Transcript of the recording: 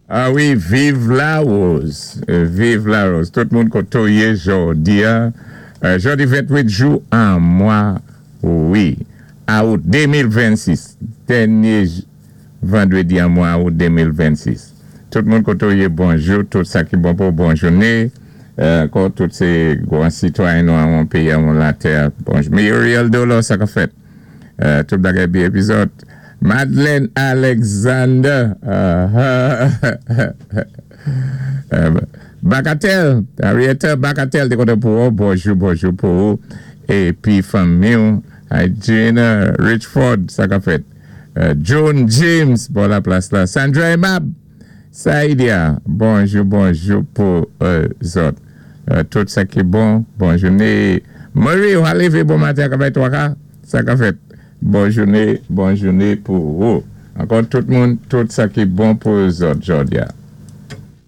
Ah wi, viv Larose, viv Larose. Tout moun koté ou yé jòdi-a, jòdi 28 jou an mwa, wi, awout 2026, dènyé vandwédi an mwa awout 2026. Tout moun koté ou yé, bonjou, tout sa ki bon pou ou, bon jouné. Ankò tout sé gwan sitwayen nou an péyi an latè. Bonjou. Muriel Dolor, sa ka fèt? Tout bagay byen épi zòt? Madeleine Alexander, Bacatel, Henrietta Bacatel, té kontan pou wè ou, bonjou, bonjou pou ou épi fanmi ou. Hi Gina Richford, sa ka fèt? Joan James bò laplas la. Sandra Aimable, Saidia, bonjou, bonjou pou zòt. Tout sa ki bon, bon jouné. Marie, ou a lévé bon maten ak avèk twaka? Sa ka fèt? Bon jouné, bon jouné pou ou. Ankò tout moun, tout sa ki bon pou zòt jòdi-a.